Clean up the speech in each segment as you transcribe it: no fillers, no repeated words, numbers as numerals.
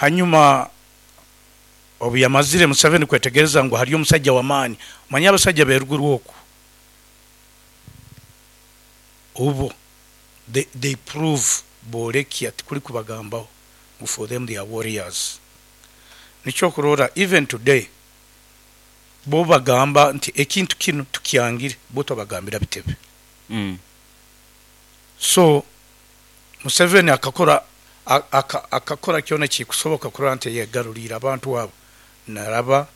Hanyuma obu yamazire Museveni kwetegereza ngu hariyo omusaija w'amaani, omanyire abasaija b'eruguru oku ubo they, they prove boolekya tikuli kubagambaho ngu for them they are warriors. Nikyo okurora even today bo bagamba nti ekintu kinu tukyangire bo tobagambira bitebe. So Museveni akakora akakora kyona ekikusoboka kurora nti ayegaruriire abantu abo naraba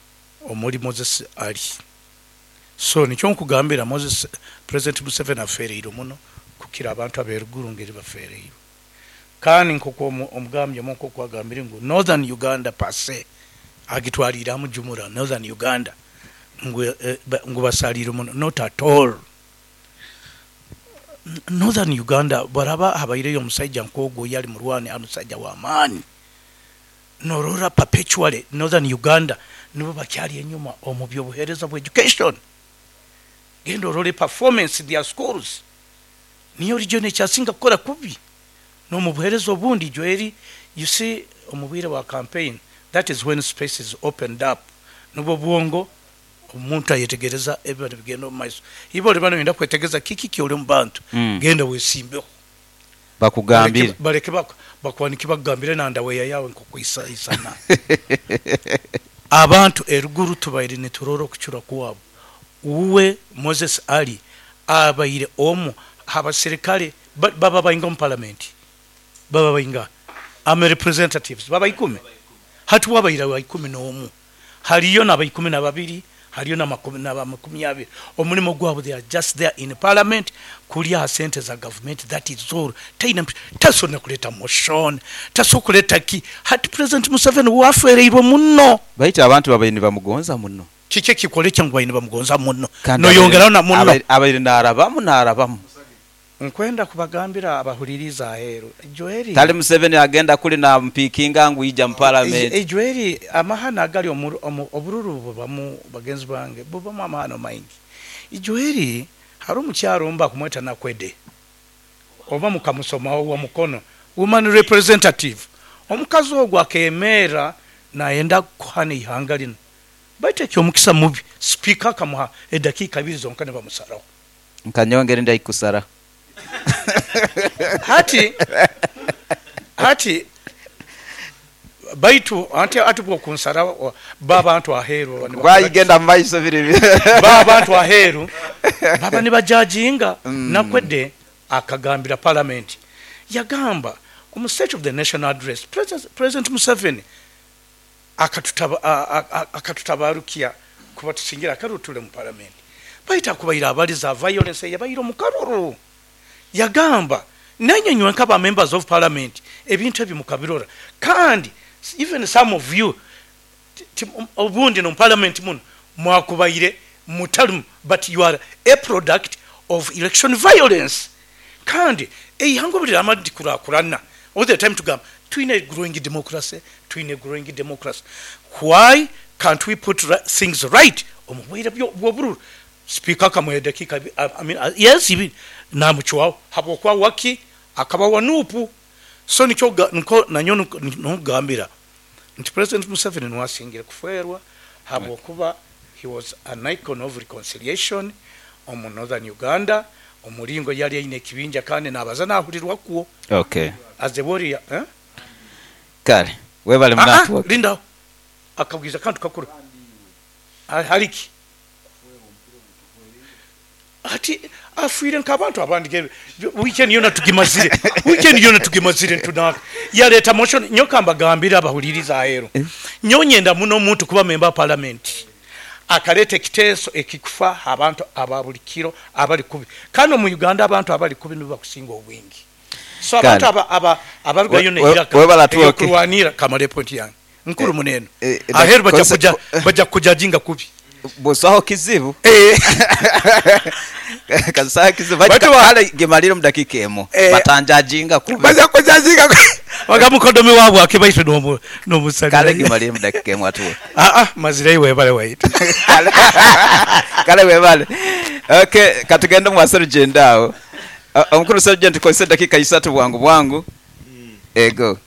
omuri Moses Ali. So nikyo nkugambira Moses, President Museveni afeereirwe muno kukira abantu aberuguru ngeri bafeereirwe. Kandi nkoku omugambye omu nkoku agambire ngu Northern Uganda per se agitwariire hamu jumura Northern Uganda ngu ngu basariirwe muno not at all. Northern Uganda bwaraba habaireyo omusaija nk'ogu oyali murwani ali musaija w'amaani norora perpetually Northern Uganda nibo bakyali enyuma omu by'obuhereza bwa education. Genda orole performance their schools niyo region ekyasinga kukora kubi n'omu buhereza obundi Joeli you see omu bwire bwa campaign that is when space is opened up nubwo obwongo Omuntu ayetegereza ebiba nibigenda omu maiso. Iwe oliba noyenda kwetegereza kiki kyoli omu bantu, genda wesimbeho. Bakugambire. Baleke bakwanike bakugambire na ndaweya yawe nkoku isana. Abantu eruguru tubaire niturora okucura kwabo. Uwe Moses Ali abaire omu ha baserikale baba bainga omu palamenti? Baba baingaha? Ama representatives baba ikumi? Hati we abaire wa ikumi n'omu. Hariyo naba ikumi na babiri, hariyo naba makumi abiri. Omurimo gwabo they are just there in parliament kulya aha sente za gavumenti that is all. Taine tasobola nakureeta motion, tasobola kureeta ki. Hati President Museveni we afeereirwe muno. Baitu abantu babaire nibamugonza muno. Kiki ekikworekya ngu babaire nibamugonza muno? Kandi Noyongeraho na muno. abaire naarabamu naarabamu. Nkwenda kubagambira abahuririize aheeru, Joeli. Tali Museveni agenda kuli namupiikinga ngu ija mu palamenti. Joeli, amahano agali omu omu obururu bubamu bagenzi bange, bubamu amahano maingi. Joeli, hariho omukyara omu bakumweta Nakwedde, oba mukamusomaho, owa Mukono, woman representative. Omukazi ogu akeemerra nayenda kuhana eihanga linu, baitu eky'omukisa mubi, sipiika akamuha edakiika ibiri zonka nibamusaraho. Nkanyongere ndaikusara. Hati, hati, baitu anti ati bw'okunsara bo abantu aheeru baba nibakora ki? Bwayigenda mu maiso biri bi. Bo abantu aheeru baba nibajajinga. Nakwedde akagambira Palamenti yagamba omu State of the Nation Address, President Museveni akatutabarukia kuba tusingire akaruru tule mu Palamenti. Baitu akubaire abaliza violence eyabaire omu karuru. Yagamba, Nainywe nywenka ba Members of Parliament ebintu ebi mukabirora kandi even some of you obundi nomu Parliament muno mwakubaire mutalimu but you are a product of election violence. Kandi eihanga obu liramara ntikurakurana all the time tugamba twine growing democracy, twine growing democracy. Why can't we put things right omu bwire bw'obururu? Sipiika akamuha edakiika I mean yes ibiri namucwaho habwokuba waki akaba wa Nup. So nikyo nko nanyowe nkugambira nti President Museveni nuwe asingire kufeerwa habwokuba he was an icon of reconciliation omu Northern Uganda, omuringo yali aine ekibinja kandi nabaza nahurirwa kwo Okay. as a warrior eh? Kale webale Aa munantu. lindaho akabwiza akantu kakuru hali ki? Hati afwire nk'abantu abandi weekend yona tugimazire, weekend yona tugimazire nitunanka. Yaleeta motion, nyowe kambagambire abahuliriza aheeru, nyowe nyenda muno omuntu kuba member wa parliament akaleeta ekiteeso ekikufa ha bantu aba buli kiro abali kubi. Kandi omu Uganda abantu abali kubi nibo bakusinga obwingi. So abantu abarugayo n'eiraka ery'okurwanira, kamare point yange nkuru muno eno, aheeru baja kukujajinga kubi. Busaho kizibu. Busaho kizibu. Baitu kale gemalire omu dakiika emu. Batanjajinga kubi. Baja kukujajinga kubi. Baga mukodomi waabwe akibaitwe n'omusalira. Kale gemalire mu dakiika emu atuwe. Aa, mazireyo webale waitu. Kale webale. Ok, katugende omwa Sergeant agho. Omukulu Sergeant kozesa edakiika isatu bwangu bwangu. Ego.